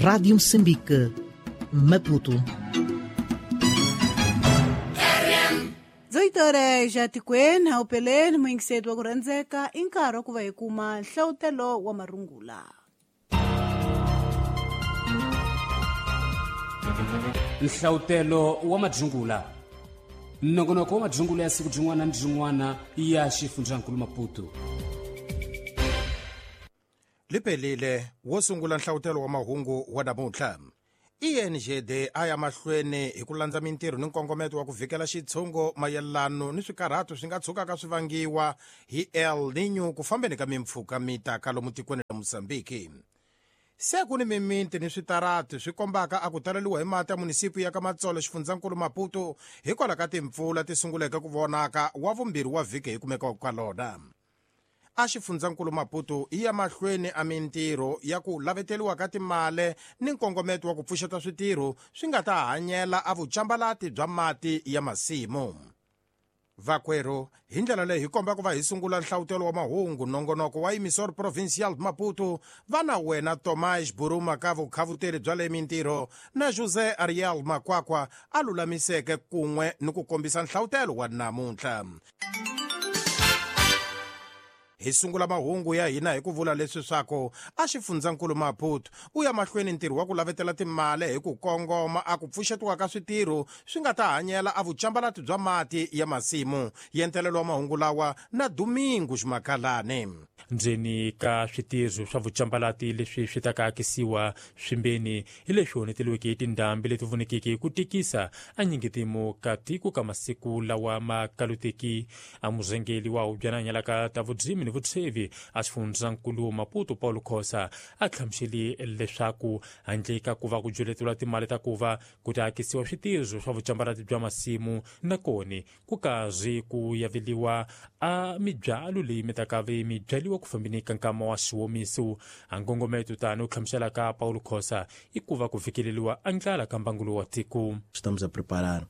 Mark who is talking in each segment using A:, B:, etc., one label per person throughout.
A: Rádio Moçambique, Maputo.
B: 18 horas ja tikweni haupeleni muyingiseti wa ku rhandzeka i nkarhi wa ku va hi kuma nhlawutelo wa marungula.
C: Nhlawutelo wa madzungula, nongonoko wa madzungula ya siku byin'wana ni byin'wana ya xifundzankulu Maputo.
D: Liphelile wo sungula nhlawutelo wa mahungu wa namuntlha. ENGD a ya mahlweni hi ku landza mintirho ni nkongometo wa ku vhikela xitshungo mayelano ni swikarhato swi nga tshukaka swi vangiwa hi El Niño ku fambeni ka mimpfhuka mi taka lomu tikweni ra Mozambique. Se ku ni mimiti ni switarati swi kombaka a ku taleliwa hi mati ya munisipi ya ka Matsolo xifundzankulu Maputo hikwalaho ka timpfula ti sunguleke ku vonaka wa vumbirhi wa vhiki hi kumekaka ka lona. A xifundzankulu Maputo yi ya mahlweni a mintirho ya ku laveteliwa ka timale ni nkongometo wa ku pfuxeta switirho swi nga ta hanyela a vucambalati bya mati ya masimu. Vakwerhu, hi ndlela leyi hi komba ku va hi sungula nhlawutelo wa mahungu nongonoko wa Emissor Provincial Maputo va na wena Tomás Buruma ka vukhavuteri bya le mintirho na José Ariel Makwakwa a lulamiseke kun'we ni ku kombisa nhlawutelo wa namuntlha. Hi sungula mahungu ya hina hi ku vula leswi swaku a xifundzankulu Maputo u ya mahlweni ntirho wa ku lavetela timali hi ku kongoma a ku pfuxetiwa ka switirho swi nga ta hanyela a vucambalati bya mati ya masimu. Yentelelo wa mahungu lawa na Domingo Ximakalani.
E: Ndzeni ka switirho swa vucambalati leswi swi ta ka akisiwa swimbeni hi leswi honeteliweke hi tindhambi leti vonekeke ku tikisa a nyingetimu ka tiko ka masiku lawa ma kaluteki. A murhangeri wa hubyana hanyalaka ta vudzimi ni vutshevi a xifundzankulu Maputo Paulo Khosa a hlamusele leswaku handle ka ku va ku byeleteriwa timali ta ku va ku ta akisiwa switirho swa vucambalati bya masimu na koni ku karhi ku yaveliwa a mibyalo leyi mi ta ka ve mi byaliwa ku fambeni ka nkama wa xiwomiso. A nkongometo tani u hlamusela ka Paulo Khosa i ku va ku fikeleliwa a ndlala ka mbangulo wa tiko.
F: Estamos a preparar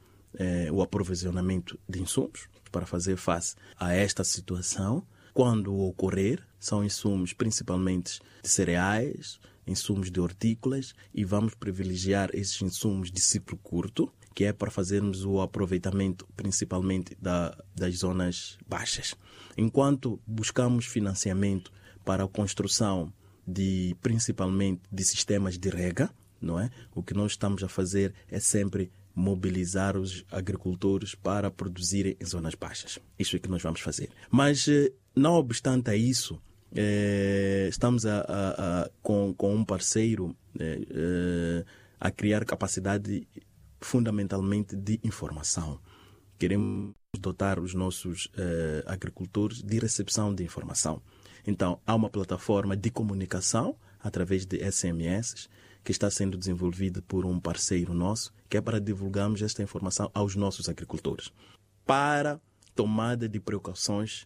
F: o aprovisionamento de insumos para fazer face a esta situação. Quando ocorrer, são insumos principalmente de cereais, insumos de hortícolas, e vamos privilegiar esses insumos de ciclo curto, que é para fazermos o aproveitamento principalmente das zonas baixas. Enquanto buscamos financiamento para a construção de, principalmente de sistemas de rega, não é? O que nós estamos a fazer é sempre mobilizar os agricultores para produzirem em zonas baixas. Isso é que nós vamos fazer. Mas, não obstante a isso, estamos com um parceiro a criar capacidade fundamentalmente de informação. Queremos dotar os nossos agricultores de recepção de informação. Então, há uma plataforma de comunicação através de SMS que está sendo desenvolvida por um parceiro nosso, que é para divulgarmos esta informação aos nossos agricultores, para tomada de precauções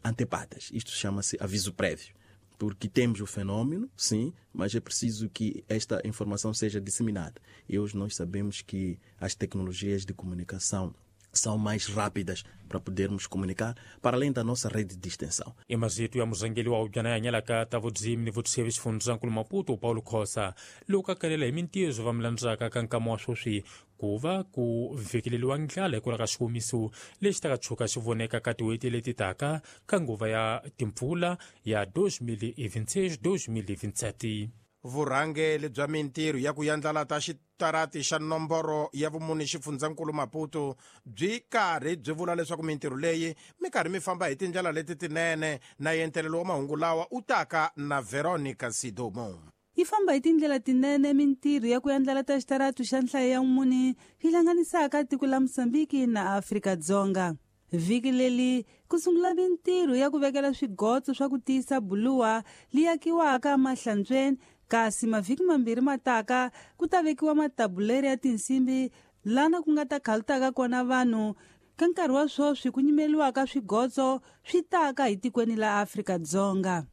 F: antepadas. Isto chama-se aviso prévio, porque temos o fenômeno, sim, mas é preciso que esta informação seja disseminada. E hoje nós sabemos que as tecnologias de comunicação são mais rápidas para podermos comunicar, para além da nossa rede de extensão.
E: Emazito ya murhangeri wa hubyana ya hanyalaka ta vudzimi ni vutsheve xifundzankulu Maputo Paulo Khosa loko a kalela hi mintirho va milandzaka ka nkama wa sweswi ku va ku vhekeleliwa ndlala hikwalaho ka xiwomiso lexi taka tshuka xi voneka ka tin'hweti leti taka ka nguva ya timpfula ya 2026-2027.
D: Vurhangeri bya mintirho ya ku yandlala ta xitarati xa nomboro ya vumune xifundzankulu Maputo byi karhi byi vula leswaku mintirho leyi mi karhi mi famba hi tindlela leti tinene na yentelelo wa mahungu lawa u taka na Veronica Sidomo.
B: Yi famba hi tindlela tinene mintirho ya ku yandlala ta xitaratu xa nhlayo ya mune yi hlanganisaka tiko la Mozambique na Afrika-Dzonga. Vhiki leri ku sungula mintirho ya ku vekela swigotso swa ku tiyisa buluwa li akiwaka emahlantsweni, kasi mavhiki mambirhi mataka ku ta vekiwa matabuleri ya tinsimbi lana ku nga ta khalutaka kona vanhu. Ka nkarhi wa sweswi ku nyimeliwaka swigotso swi taka hi tikweni la Afrika-Dzonga.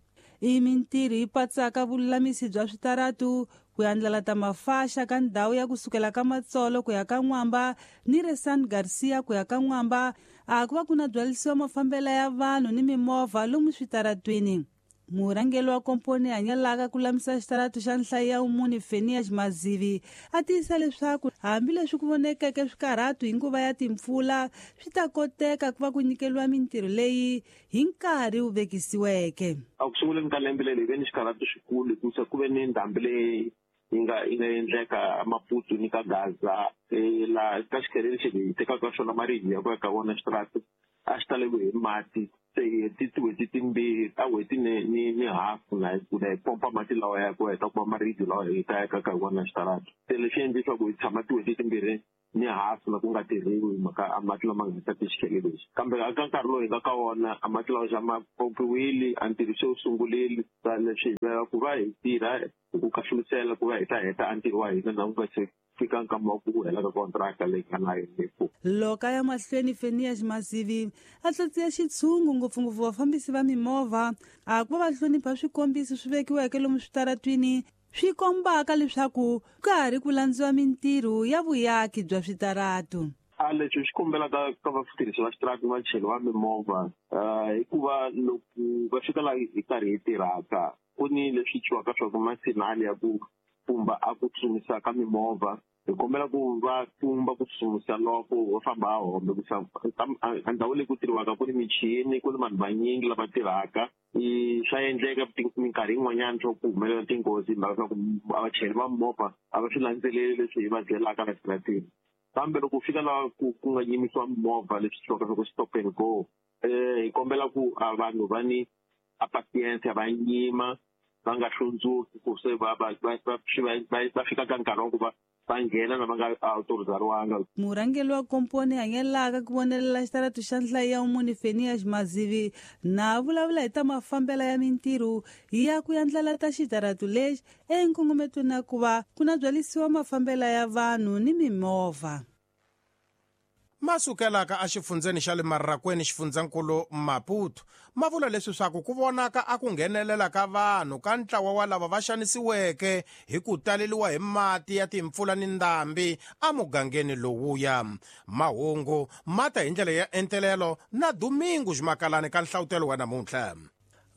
B: I mintirho yi patsaka vululamisi bya switaratu, ku yandlala ta mafaxa ka ndhawu ya kusukela ka Matsolo ku ya ka N'wamba ni re San Garcia ku ya ka N'wamba, a ku va ku na byalisiwa mafambela ya vanhu ni mimovha lomu switaratwini. Murhangeri wa komponi hanyalaka ku lamisa xitaratu xa nhlayo ya umuni Fenias Mazivi a tiyisa leswaku hambileswi ku vonekeke swikarhatu hi nguva ya timpfula swi ta koteka ku va ku nyikeriwa mintirho leyi hi nkarhi wu vekisiweke.
G: A ku sunguleni ka lembe leri hi ve ni xikarhatu xikulu hikusa ku ve ni ndhambi leyi yi nga endleka Maputo ni ka Gaza, laha ka xikhele lexi hi tekaka xona maribye ya ku ya ka wona xitaratu a xi taleriwe hi mati. Se hi heti tin'hweti timbirhi ta n'hweti ni hafu na hi pompa mati lawa ya ku heta ku va maribye lawa hi ta yakaka hi wona xitaratu. Se leswi endle leswaku hi tshama tin'hweti timbirhi ni hafu na ku nga tirhiwi hi mhaka a mati lama nga ta xikhele lexi. Kambe eka nkarhi lowu hi nga ka wona a mati lawa xa ma pompiwile, a ntirho se wu sungurile. Leswi hi lava ku va hi tirha hi ku kahlulisela ku va hi ta heta a ntirho wa hina na ku nga se fika nkama wa ku hela ka kontraka leyi nga na yona.
B: Loko a ya mahlweni Fenias Mazivi a tlatsiya xitshungu ngopfungopfu vafambisi va mimovha a ku va va hlonipha swikombiso swi vekiweke lomu switaratwini swi kombaka leswaku ka ha ri ku landziwa mintirho ya vuyaki bya switaratu.
G: A leswi swi kombelaka ka vatirhisi va xitaratu vachayeri va mimovha hikuva loko va fika laha hi karhi hi tirhaka ku ni leswi twiwaka swa ku masinali ya ku pfumba a ku tsutsumisa ka mimovha. Hi kombela ku va pfumba ku tsutsumisa loko va famba a hombe ku a ndhawu leyi ku tirhiwaka ku ni michini, ku ni vanhu vanyingi lava tirhaka. Swa endleka minkarhi yin'wanyana swa ku humelela tinghozi hi mhaka swa ku vachayeri va mimovha a va swi landzeleli leswi hi va byelaka la xitarateni. Kambe loko u fika laha ku nga yimisiwa mimovha leswi twiwaka swa ku stop and go, hi kombela ku a vanhu va ni a patience, va yima va nga hlundzuki ku se va fika ka nkarhi wa ku va nghena na va nga autorizariwanga.
B: Murhangeri wa komponi hanyelaka ku vonelela xitaratu xa nhlayo ya umuni Fenias Mazivi na vulavula hi ta mafambela ya mintirho ya ku yandlala ta xitaratu lexi enkongometweni na ku va ku na byalisiwa mafambela ya vanhu ni mimovha.
D: Masukelaka exifundzeni xa le Marrakweni xifundzankulu Maputo ma vula leswi swaku ku vonaka a ku nghenelela ka vanhu ka ntlawa wa lava va xanisiweke hi ku taleliwa hi mati ya timpfula ni ndhambi emugangeni lowuya. Mahungu ma ta hi ndlela ya entelelo na Domingo Ximakalani ka nhlavutelo wa namuntlha.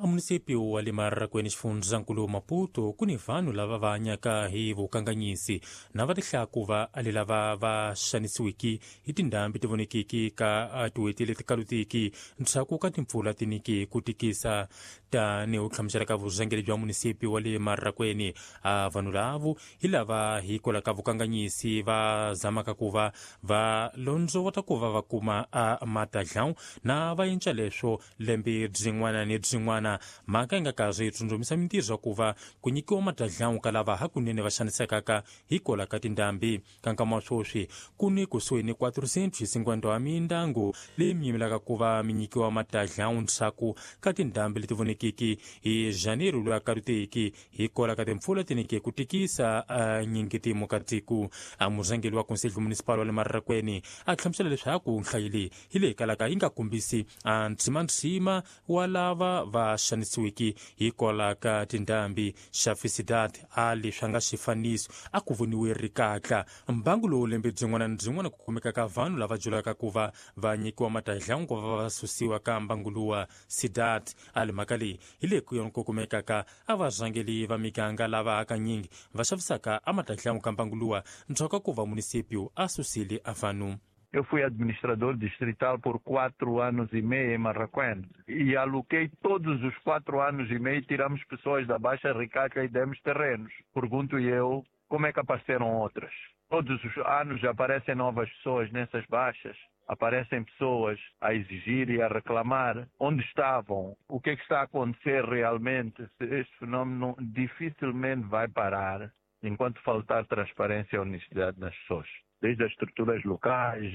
E: A munisipio wa le Marrakweni xifundzankulu Maputo ku ni vanhu lava va hanyaka hi vukanganyisi na va tihlaku va ali lava va xanisiwiki hi tindhambi ti vonekiki ka tin'hweti leti kalutiki ndzhaku ka timpfula ti niki ku tikisa. Tanihi u hlamusela ka vurhangeri bya munisipi wa le Marrakweni, a vanhu lavo hi lava hikwalaho ka vukanganyisi va zamaka ku va va londzovota ku va va kuma a matadlawu na va endla leswo lembe byin'wana ni byin'wana. Mhaka yi nga karhi yi tsundzumisa mintirho ya ku va ku nyikiwa matadlawu ka lava hakunene va xanisekaka hikwalaho ka tindhambi. Ka nkama wa sweswi ku ni kusuhi ni 450 wa mindyangu leyi mi yimelaka ku va mi nyikiwa matadlawu ndzhaku ka tindhambi leti vonekiki hi Janeiro loyi a kaluteki hikwalaho ka timpfula ti nike ku tikisa nyingitimo ka tiko. A murhangeri wa Conselho Municipal wa le Marrakweni a hlamusela leswaku nhlayo leyi hi leyi kalaka yi nga kombisi a ntsimantsima wa lava va xanisiwiki hikwalaho ka tindhambi. Xafisidad a leswi a nga xifaniso a ku voniwe rikatla mbangu lowu lembe byin'wana ni byin'wana ku kumeka ka vanhu lava julaka ku va va nyikiwa matadlawu ku va va susiwa ka mbangu luwa. Sidat a li mhaka leyi hi leyi ku yona ku kumekaka a varhangeri va miganga lava hakanyingi va xavisaka a matadlawu ka mbangu luwa ndzhaku ka ku va munisipio a susile a vanhu.
H: Eu fui administrador distrital por 4 anos e meio em Marraquém e aloquei todos os 4 anos e meio, tiramos pessoas da Baixa Ricaca e demos terrenos. Pergunto eu, como é que apareceram outras? Todos os anos aparecem novas pessoas nessas baixas. Aparecem pessoas a exigir e a reclamar onde estavam, o que é que está a acontecer realmente. Este fenómeno dificilmente vai parar enquanto faltar transparência e honestidade nas pessoas, desde as estruturas locais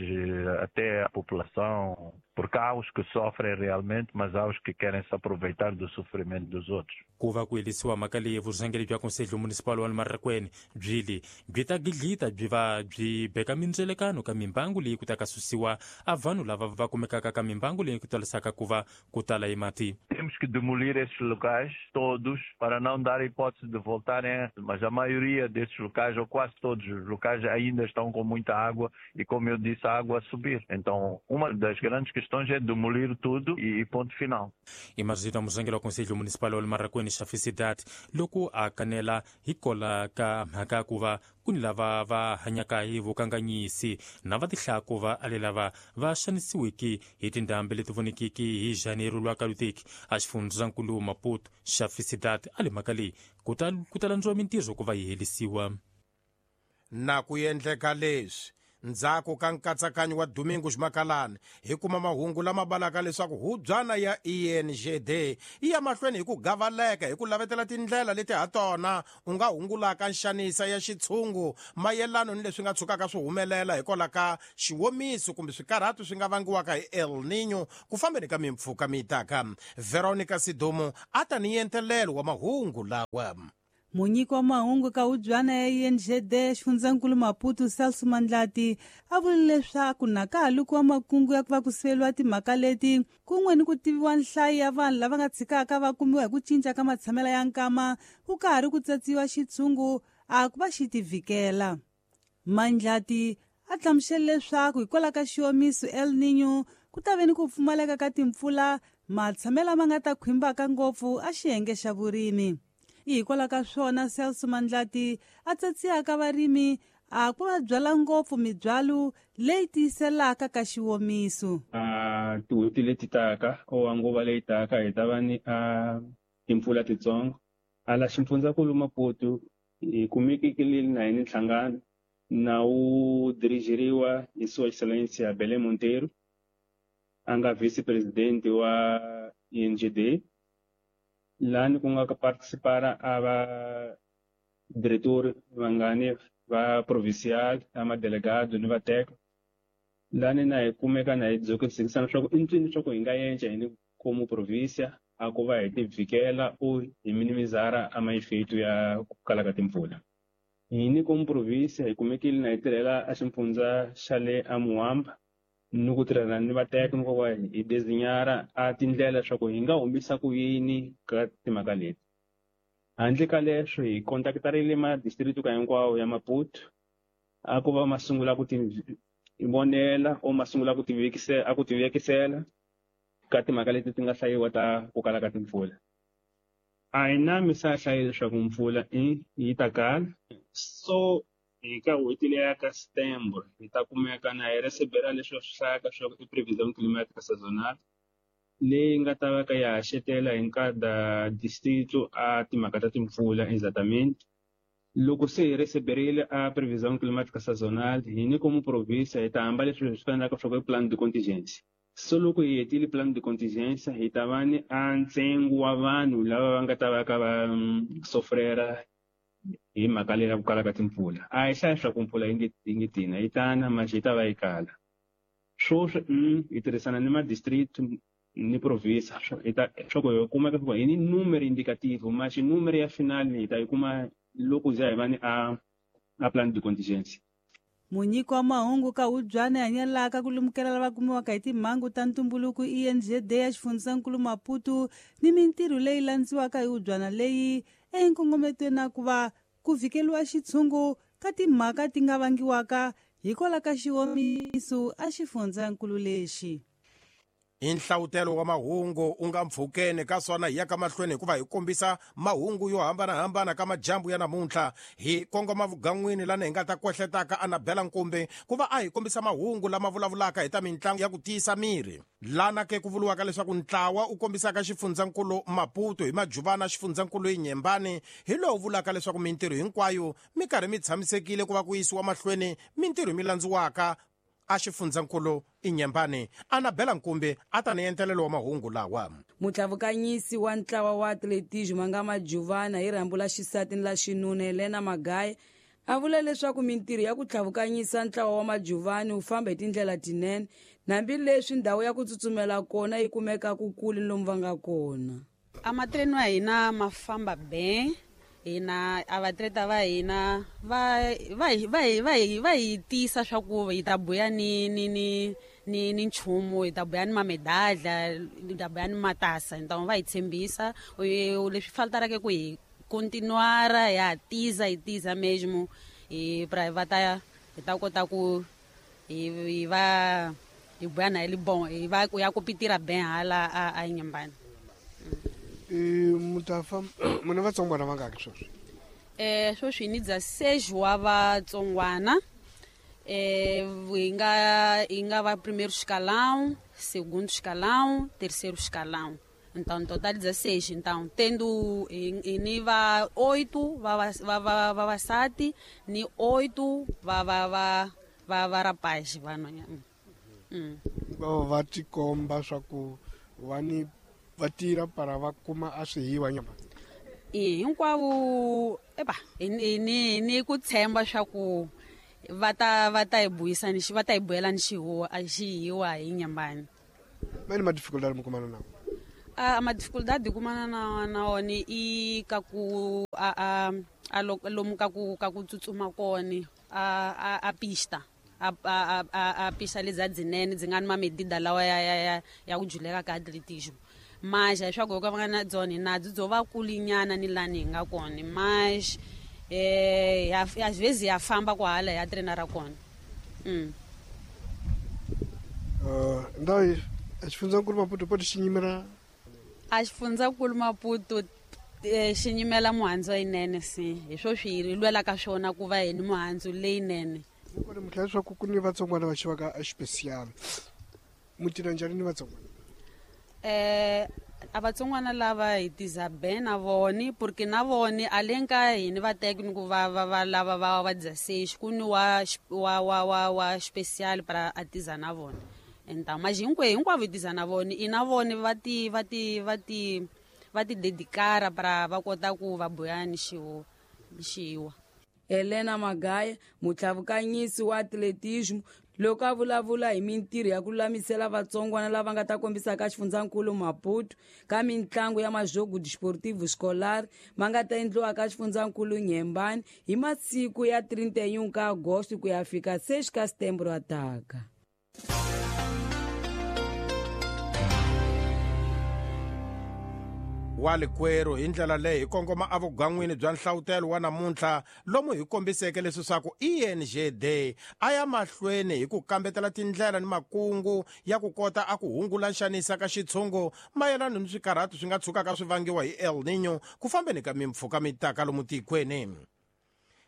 H: até a população, porque há os que sofrem realmente, mas há os que querem se aproveitar do sofrimento dos outros.
E: Ku va ku herisiwa mhaka leyi vurhangeri bya Conselho Municipal wa le Marrakweni byi le byi ta gidlita byi va byi beka mindzelekano ka mimbangu leyi ku ta ka susiwa a vanhu lava va kumekaka ka mimbangu leyi ku talisaka ku va ku tala hi mati.
H: Temos que demolir esses locais todos para não dar hipótese de voltarem, mas a maioria desses locais, ou quase todos os locais, ainda estão com muita água e, como eu disse, a água a subir. Então, uma das grandes questões sugestões é demolir tudo e ponto final.
E: I marito murhangeri wa Conselho Municipal wa le Marracuene xa Cidade loko a kanela hikola ka mhaka ku va ku ni lava va hanyaka hi vukanganyisi na va tihlaya ku va ale lava va xanisiwiki hi tindhambi leti vonekiki hi Janeiro lwa kalutiki a xifundzankulu Maputo xa Cidade a le mhaka leyi ku ta landziwa mintirho ku va yi helisiwa.
D: Na ku endleka leswi ndzhaku ka nkatsakanyo wa Domingos Makalani hi kuma mahungu lama balaka leswaku hubyana ya ENGD yi ya mahlweni hi ku gavaleka hi ku lavetela tindlela leti ha tona u nga hungulaka nxanisa ya xitshungu mayelano ni leswi nga tshukaka swi humelela hikwalaho ka xiwomiso kumbe swikarhatu swi nga vangiwaka hi El Niño ku fambeni ka mimpfhuka mi taka. Veronica Sidumo a ta ni entelelo wa mahungu lawa.
B: Munyiki wa mahungu ka hubyana ya ENGD xifundzankulu Maputo Celso Mandlati a vule leswaku na ka ha lukiwa makungu ya ku va ku siveriwa timhaka leti kun'we ni ku tiviwa nhlayo ya vanhu lava nga tshikaka va kumiwa hi ku cinca ka matshamelo ya nkama ku ka ha ri ku tsatsiwa xitshungu a ku va xi tivikela. Mandlati a hlamusele leswaku hikwalaho ka xiwomiso El Niño ku ta ve ni ku pfumaleka ka timpfula matshamelo ma nga ta khwimbaka ngopfu a xiyenge xa vurimi. Hikwalaho ka swona Celso Mandlati a tsatsiyaka varimi a ku va byala ngopfu mibyalo leyi tiyiselaka ka xiwomiso.
I: Tin'hweti leti taka or nguva leyi taka hi ta va ni timpfula titsongo. Ala xifundzankulu Maputo hi kumekile na hi ni nhlangano na wu dirigiriwa hi Sua Excelência Belém Monteiro, a nga vice-presidente wa ENGD. Lani ku nga participara a va diretor vangani va provincial a madelegado ni va teka. Lani na hi kumeka na hi dzokisana swa ku i ncini swa ku hi nga yenca hi ni como província a ku va hi tivikela o hi minimizara a maefeito ya ku kala ka timpfula. Hi ni como província hi kumekile na hi tirhela a xifundza xa le a Muamba ni ku tirhela ni vateka ni ku va hi designar a tindlela leswaku hi nga humisa ku yini ka timhaka leti. Handle ka leswo hi contactarile ma district ka hinkwawo ya Maputo a ku va ma sungula ku ti vonela o ma sungula ku tivekisela a ku tivekisela ka timhaka leti ti nga hlayiwa ta ku kala ka timpfula. A hi na misa hlayi leswaku mpfula yi ta kala so hi ka n'hweti leya ka September hi ta kumeka na hi recebera leswi swi hlayaka swa i prevision climatic sazonal leyi nga ta va ka ya haxetela hi nkada distrito a timhaka ta timpfula exatamente. Loko se hi receberile a prevision climatic sazonal hi ni como província hi ta hamba leswi swi fanelaka swa ku i plan de contingencia. So loko hi hetile plan de contingencia hi ta va ni a ntsengo wa vanhu lava va nga ta va ka va sofrera hi mhaka leyi ya ku kala ka timpfula. A hi hlayi swa ku mpfula yi nge tina yi tana manje yi ta va yi kala. Swoswi hi tirhisana ni ma-district ni província swa ku hi kumeka ku hi ni numero indicativo manje numero ya final hi ta yi kuma loko za hi va ni a plan de contingencia.
B: Munyiki wa mahungu ka hubyana hanyelaka ku lemukela lava kumiwaka hi timhangu ta ntumbuluko ENGD ya xifundzankulu Maputo ni mintirho leyi landziwaka hi hubyana leyi enkongometweni na ku va ku vikeriwa xitshungu ka timhaka ti nga vangiwaka hikwalaho ka xiwomiso a xifundzankulu lexi.
D: I nhlawutelo wa mahungu u nga mpfhukeni ka swona hi ya ka mahlweni hikuva hi kombisa mahungu yo hambanahambana ka majambu ya namuntlha. Hi kongoma vugan'wini lani hi nga ta kwehletaka Anabela Nkumbi ku va a hi kombisa mahungu lama vulavulaka hi ta mitlangu ya ku tiyisa miri. Lana ke ku vuriwaka leswaku ntlawa u kombisaka xifundzankulu Maputo hi majuvana xifundzankulu Inyembani hi lowu vulaka leswaku mintirho hinkwayo mi karhi mi tshamisekile ku va ku yisiwa mahlweni mintirho mi landziwaka a xifundzankulu Inyembani. Anabela Nkumbi a ta ni entelelo wa mahungu lawa.
J: Mutlavukanyisi wa ntlawa wa atletismo nga majuvana hi rhambu la xisati ni la xinuna Helena Magaye a vula leswaku mintirho ya ku tlhavukanyisa ntlawa wa majuvani wu famba hi tindlela tinene hambileswi ndhawu ya ku tsutsumela kona yi kumeka ku kule lomu va nga kona.
K: A matreno ya hina ma famba ben hina a vatleta va hina va hi tiyisa swa ku hi ta buya ni ni ni ni ni nchumu, hi ta buya ni mamedadla, hi ta buya ni matasa, hi ta va hi tshembisa leswi faltaraka ku hi continuara ya tiza hi tiza mesmo hi pra va ta hi ta kota ku hi va Hi buya na hi bon hi va ku ya ku pitira ben hala a Inhambane.
L: Mutafa muna vatsongwana vangaki sweswi?
K: Sweswi ni 16 wa vatsongwana. Hi nga va primeiro escalão, segundo escalão, terceiro escalão. Então, no total 16. Então, tendo ni va 8 va vavasati ni 8 va rapaz va nonyana.
L: Va tikomba swa ku va ni va tirha para va kuma a swihiwa nyama.
K: Hinkwavo eba ni ku tshemba swa ku va ta hi buyisa ni va ta hi buyela ni xihuwa a xihiwa hi Inhambane.
L: Mani ma dificuldade mi kumana na?
K: A ma dificuldade kumana na wona i ka ku a lomu ka ku tsutsuma kona a pista a pista leza dzinene dzi nga ni mamedida lawa ya ku juleka ka atletismo. Mas leswaku ka va nga na dzona nadzo byo va kulinyana ni lani hi nga kona mas às vezes ya famba kwahala ya treina ra kona.
L: Ndhawu a xifundzankulu Maputo poto xi nyimela
K: a xifundzankulu Maputo xi nyimela muhandzu leyinene si hi swo swi hi lwelaka swona ku va hi ni muhandzu leyinene.
L: Kona mi tlhela leswaku ku ni vatsongwana va xivaka a xipesiyali mu tirha njhani ni vatsongwana?
K: A vatsongwana lava hi tiza ben na voni porque na voni a le ka hini va teki ni ku va va lava va 16 ku ni wa special para a tiza na vona. Então mas hinkwavo hi tiza na voni i na voni va ti dedicara para va kota ku va buya ni xiwa.
J: Helena Magaya, mutlhavukanyisi wa atletismo, loko a vulavula hi mintirho ya ku lulamisela vatsongwana lava nga ta kombisaka xifundzankulu Maputo ka mintlangu ya majogo desportivo escolar ma nga ta endliwa ka xifundzankulu Inhambane hi masiku ya 31 ka Agosto ku ya fika 6 ka Setembro ataka.
D: Wa likwerhu hi ndlela leyi hi kongoma evugan'wini bya nhlawutelo wa namuntlha lomu hi kombiseke leswaku ENGD a ya mahlweni hi ku kambetela tindlela ni makungu ya ku kota a ku hungula nxanisa ka xitshungu mayelana ni swikarhato swi nga tshukaka swi vangiwa hi El Niño ku fambeni ka mimpfhuka mitaka lomu tikweni.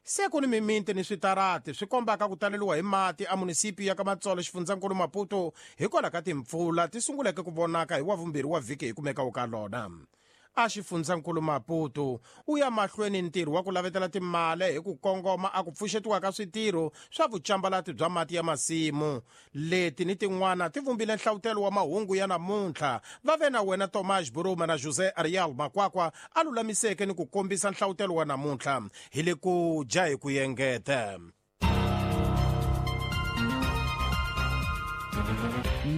D: Se ku ni mimiti ni switarati swi kombaka ku taleriwa hi mati a munisipi ya ka Matsolo xifundzankulu Maputo hikwalaho ka timpfula ti sunguleke ku vonaka hi wavumbirhi wa vhiki hi kumeka ka lona. A xifundzankulu Maputo u ya mahlweni ntirho wa ku lavetela timali hi ku kongoma a ku pfuxetiwa ka switirho swa vucambalati bya mati ya masimu. Leti ni tin'wana ti vumbile nhlawutelo wa mahungu ya namuntlha. Va ve na wena Tomás Buruma na José Ariel Makwakwa a lulamiseke ni ku kombisa nhlawutelo wa namuntlha. Hi le ku dya hi ku yengeta.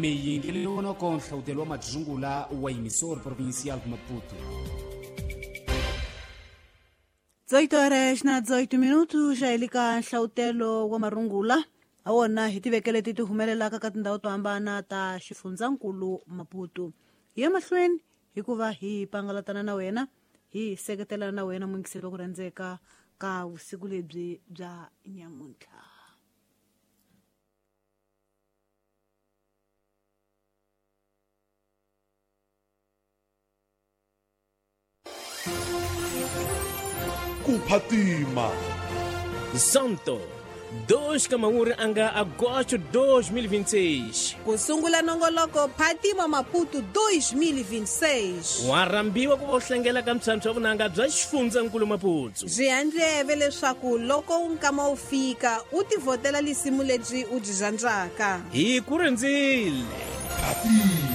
C: Miyingelelonoko nhlawutelo wa madzungula wa emissora provincial de Maputo.
B: 18 horas na 18 minutos já elika nhlawutelo wa marungula a wona hi tivekele ti humelelaka ka tindhawu to hambana ta xifundzankulu Maputo. Hi ya mahlweni hikuva hi pangalatana na wena hi seketelana na wena muyingiseri wa ku rhandzeka ka vusiku lebyi bya nyamuntlha.
M: Kuphatima
N: Santo 2 ka anga agosto 2026.
O: Kusungula nongoloko Phatima Maputo 2026.
N: Warambiwa ku vohlengela ka mtshantshwa vunanga bya xifundzankulu Maputo.
O: Byi handleve leswaku loko nkama wu fika u tivhotela lisimu lebyi u byi rhandzaka.
N: Hi ku rindzile.
M: Phatima.